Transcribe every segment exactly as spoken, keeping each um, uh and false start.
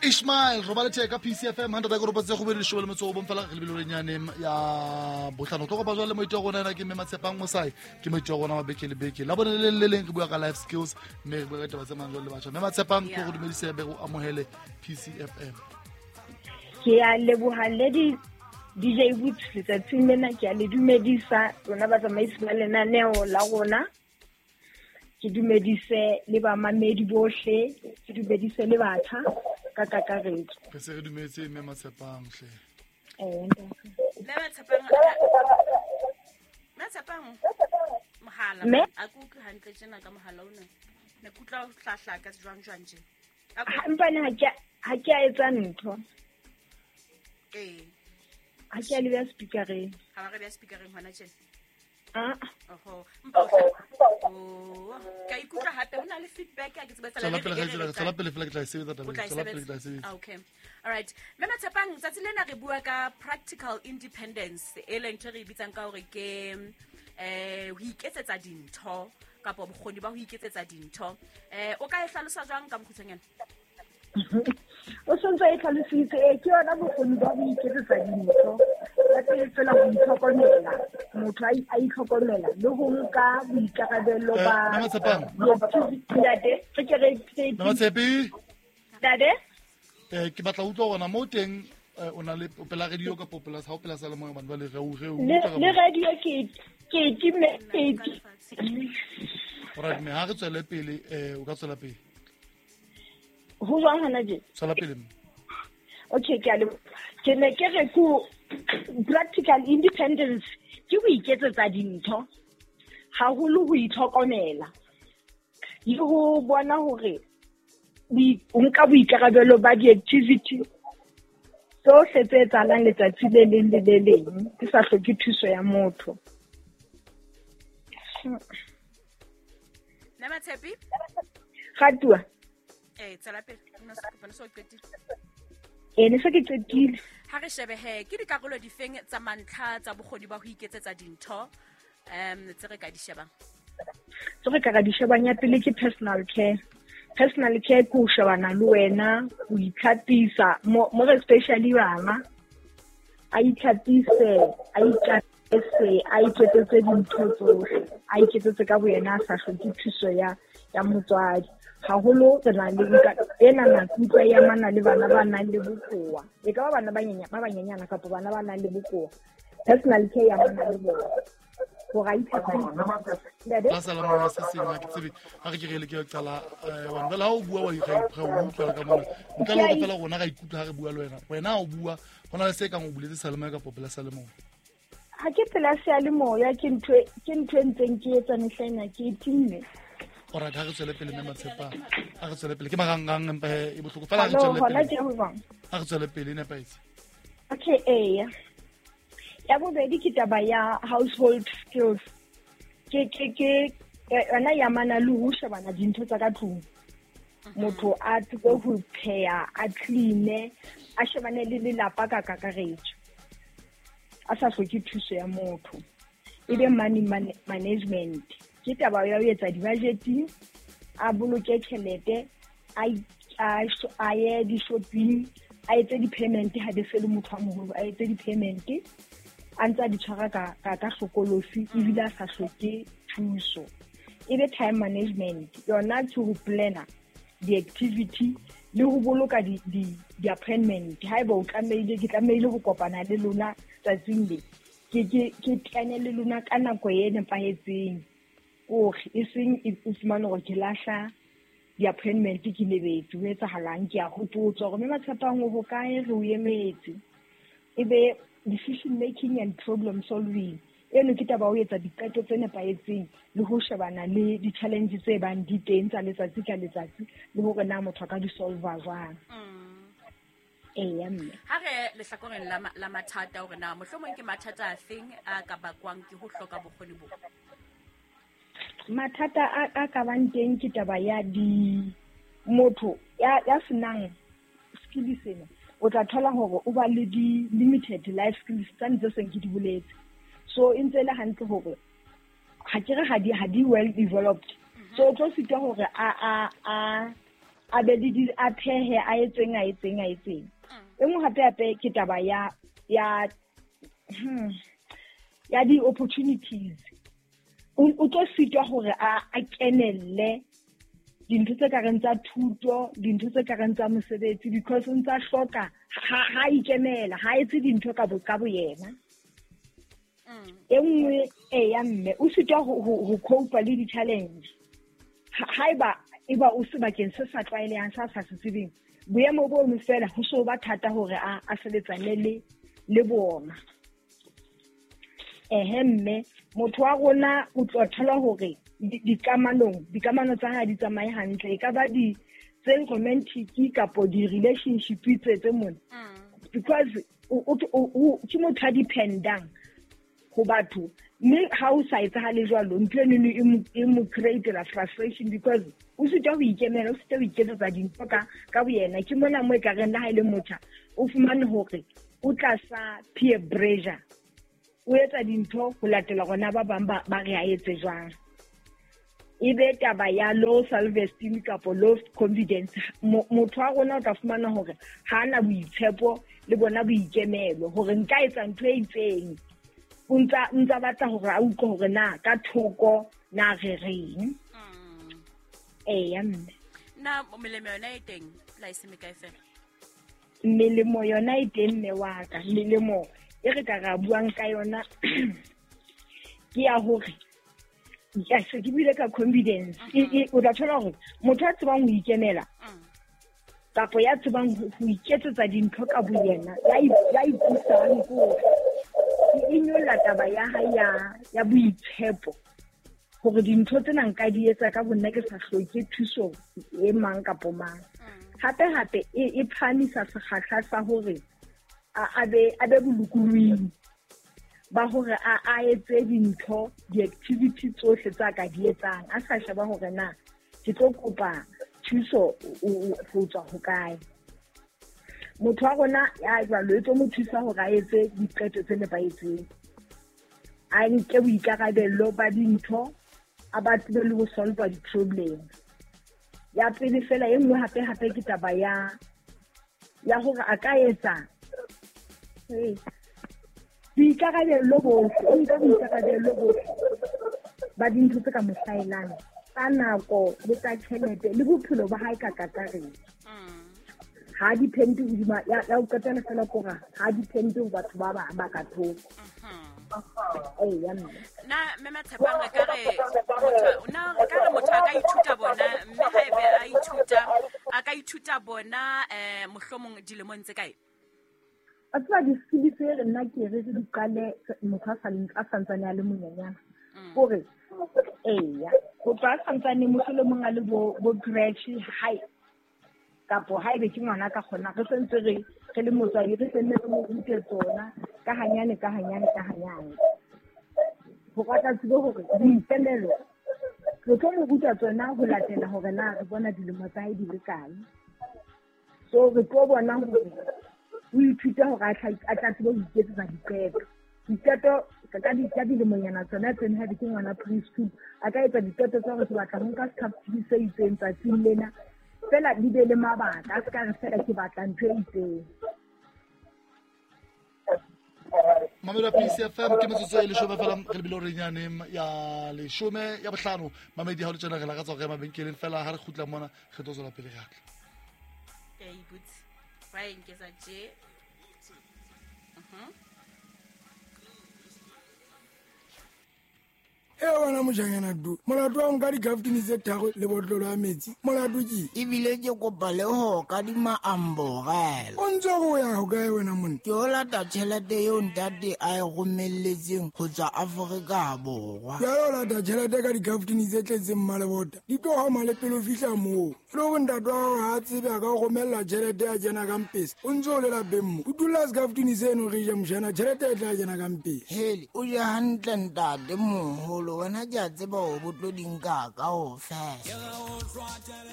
Ishmael robale theka P C F M hundred ka ropa tse go bedi leshome le metso o bong fela re lebile lenyane ya botlhano tlo go ba jwale moitse rona ena ke mme Matshepang Mosai ke moitse rona wa beke le beke la bone le le leng re bua ka life skills mme re bua ka taba tse mang jwale le batjha. Mme Matshepang ke go dumedise be go amohele P C F M. Ke a leboha le di D J Boots letsatsing lena, ke a le dumedisa rona batsamaisi ba lenaneo la rona, ke dumedise le bamamedi bohle, ke dumedise le batjha ka kakaretso. Re se re dumetse mme Matshepang hle. Eh, mme Matshepang, Matshepang mohala a ke utlwe hantle tjena ka mohala ona. Ne ke utlwa o hlahla ka jwang jwang tje. Empa ne ha ke ha ke a etsa ntho. Eh. Ha ke a le beha speakereng. Ha ba re beha speakereng hona tjena. Ah. Oho. Mpa o. Ka ikutlwa hape ho na le feedback ya ke tseba tsela le le tsela pele fela ke tla e sebetsa taba tsela pele ke tla e sebetsa. Okay. All right. Mme Matshepang tsatsi lena re bua ka practical independence e leng ntho re e bitsang ka hore ke eh ho iketsetsa dintho kapa bokgoni ba ho iketsetsa dintho. Eh o ka e hlalosa jwang ka bokgutshwanyane? O sontse e tlhalositse e ke yona bokgoni ba ho iketsetsa dintho. Ya pele fela ho itlhokomela, motho a itlhokomela le ho nka boikarabelo ba ntate. Re ke re Matshepi ntate eh ke batla utlwa hore na mo teng o na le pela radio ka pela ha o pela sa le moya bana ba le re o re o le radio ke ke ke ke Alright, me ha re tswele pele eh o ka tswela pele. Ho jwang hona je? Tswela pele. Okay, ke a le ke ne ke re ku practical independence ke ho iketsetsa dintho haholo ho itlhokomela le ho bona hore o nka boikarabelo ba di-activity tsohle tse etsahalang letsatsi le leng le le leng ke sa hloke thuso ya motho. Mme Matshepi? Gatua. Eh, tswela pele. Nna se kopana so qetile. Eh, ne se ke qetile. Ha re shebe he, ke dikarolo difeng tsa mantlha tsa bokgoni ba ho iketsetsa dintho um tse re ka di shebang? Tse re ka di shebang ya pele ke personal care. Personal care ke ho shebana le wena, ho itlhapisa, more especially bana. A itlhapise, a ikatise, a iketsetse dintho tsohle, a iketsetse ka boyena a sa hloke thuso ya ya motswadi. Haholo re na le ena nako utlwa ya mana le bana ba nang le bokowa. E ka ba bana ba nyenyana ba banyenyana kapa bana ba nang le bokowa. Personal care ya mana le bona. Hore a itlhapise. La sala mona se seng ha ke tsebe ha re ke re le ke qala wa nbela ha o bua wa ikga o utlwa ka mona. Ntle le hore fela rona ra ikutlwa ha re bua le wena. Wena o bua hona le se kang o buletse seyalemoya kapa pela seyalemoya. Ha ke pela seyalemoya ke ntho ke ntho e ntseng ke etsa mehlaena ke e timme. Alright, ha re tswele pele mme Matshepang. Ha re tswele pele ke marangrang empa e bohloko fela ha re tswele pele. Ha re tswele pele e nepahetse. Okay, eh. Ya bobedi ke taba ya household skills. Ke ke ke yona ya mana le ho shebana dintho tsa ka tlung. Motho a tsebe ho pheha, a clean, a shebane le lelapa ka kakaretso. A sa hloke thuso ya motho. E be money management. Ke taba ya ho etsa di-budgeting, a boloke tjhelete, a a ye di-shopping, a etse di-payment ha be se le motho a moholo, a etse di-payment a ntse a di tshwara ka ka ka hlokolosi ebile a sa hloke thuso. E be time management yona ke ho planner di-activity le ho boloka di di di-appointment. Haeba o tlamehile ke tlamehile ho kopana le lona tsatsing le ke ke ke tlane le lona ka nako e nepahetseng. Hore e seng o fumane hore ke lahla di-appointment ke lebetse ho etsahalang ke a hopotswa hore mme Matshepang o hokae re o emetse. E be decision making and problem solving. Eno ke taba ho etsa diqeto tse nepahetseng le ho shebana le di-challenge tse bang di teng tsa letsatsi ka letsatsi le hore na motho a ka di solve jwang. Eya mme. Ha re lehlakoreng la la mathata hore na mohlomong ke mathata a feng a ka bakwang ke ho hloka bokgoni bo? Mathata a a ka bang teng ke taba ya di motho ya ya senang skill sena o tla thola hore o ba le di limited life skills tsa ntse seng ke di boletse. So e ntse le hantle hore ha ke re ha di ha di well developed. So o tlo sitwa hore a a a A be le di a phehe a etseng a etseng a etseng. E nngwe hape hape ke taba ya ya hmm, ya di opportunities. O o tlo sitwa hore a a kenelle dintho tse ka reng tsa thuto, dintho tse ka reng tsa mosebetsi, because o ntsa hloka ha ha ikemela, ha etse dintho ka bo ka bo yena. E nngwe e ya mme o sitwa ho ho cope le di-challenge. Haeba eba o sebakeng se sa tlwaelehang sa sa se tsebeng, boemo bo fela ho so ba thata hore a a sebetsane le le bona. Ehe mme motho wa rona o tlo thola hore dikamanong dikamano tsa hae di tsamaye hantle, e ka ba di tse romantic kapo di relationship tse tse mona, because o o ke motho a dependang ho batho, mme ha o sa etsahale jwalo ntho eno e mo create la frustration, because o sitwa ho ikemela, o sitwa ho iketsetsa dintho ka ka boyena. Ke mona mo e ka reng le ha e le motjha o fumane hore o tlasa peer pressure, o etsa dintho ho latela rona ba bang ba ba re a etse jwang. E be taba ya low self esteem kapo low confidence. Motho wa rona o tla fumana hore ha ana boitshepo le bona boikemelo hore nka etsa ntho e itseng, o ntsa ntsa batla hore a utlwe hore na ka thoko na re reng. Eya mme na melemo yona e teng la e se mekae fela? Melemo yona e teng mme wa ka. Melemo e re ka ra buang ka yona ke ya hore ya se ke buile ka confidence. O tla thola hore motho a tsebang ho ikemela kapo ya tsebang ho iketsetsa dintho ka boyena, ya ipusang ko e nyolla taba ya hae ya ya boitshepo hore dintho tsena nka di etsa ka bonna ke sa hloke thuso e mang kapo mang. Hape hape e phahamisa sekgahla sa hore a be a be bolokolohing ba hore a a etse dintho di-activity tsohle tsa ka di etsang, a sa sheba hore na ke tlo kopa thuso ho tswa hokae. Motho wa rona ya jwalo e tlo mo thusa hore a etse diqeto tse nepahetseng, a nke boikarabello ba dintho, a ba tsebe le ho solve di-problem. Ya pele fela e nngwe hape hape ke taba ya ya hore a ka etsa boikarabello bohle, o nka boikarabello bohle ba dintho tse ka mo hlahelang tsa nako le tsa tjhelete le bophelo ba hae ka kakaretso. Ha depende hodima ya ya o qetela fela kora ha depende ho batho ba bang ba ka thoko. Ee mme na mme Matshepang re ka re motho na re ka re motho a ka ithuta bona, mme haebe a ithuta a ka ithuta bona eh mohlomong dilemong tse kae? A tseba di-skills tse re nna ke re re di qale motho a sa santsane a le monyenyana, hore eya ho tloha a santsane mohlomong a le bo bo crèche hae kapo haebe ke ngwana ka kgona re sentse re re le motswadi re senne re mo rute tsona ka hanyane ka hanyane ka hanyane, ho ka tla tsebe hore boikemelo re tlo mo ruta tsona ho latela hore na re bona dilemo tsa hae di le kae. So re tlo bona hore o ithuta hore a tla tsebe ho iketsetsa diqeto. Diqeto ka di ka dilemonyana tsona tsena ha di ke ngwana preschool a ka etsa diqeto tsa hore ke batla ho nka sekhafutini se itseng tsatsing lena, fela di be le mabaka, a se ka re fela ke batla ntho e itseng. Mamelo P C F M ke metsotso e leshome fela re lebile hore nyane ya leshome ya bohlano. Mamedi ha o le tjena re lakatsa hore mabenkeleng fela ha re kgutla mona re tlo tswela pele re atla. Ke a ipotse ba enketsa tje. Mhm. E wena mojanyana du molato wa nka dikaftini tse tharo le botlolo ya metsi molato ke ebile ke kopa le ho kadima amborela. O ntse o ya ho kae wena monna? Ke o lata tjhelete eo ntate a e romelletseng ho tswa Afrika Borwa. Jwale o lata tjhelete ka dikaftini tse tletseng mmalebota di tlo hama le pele o fihla moo. E le hore ntate wa hao ha a tsebe a ka o romella tjhelete ya kena ka mpesa, o ntse o le lapeng mo o dula sekaftini seno re je mojana tjhelete e tla kena ka mpesa. Hele o je hantle ntate moholo, wena ke a tseba hore bo tlo di nka kaofela.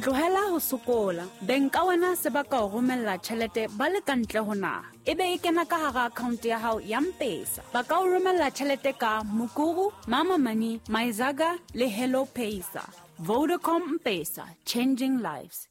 Tlohela ho sokola. Beng ka wena se ba ka o romella tjhelete ba le ka ntle ho naha, ebe e kena ka hara account ya hao ya M-Pesa. Ba ka o romella tjhelete ka Mukuru, Mama Money, Myzaga le Hello Pesa. Vodacom M-Pesa, changing lives.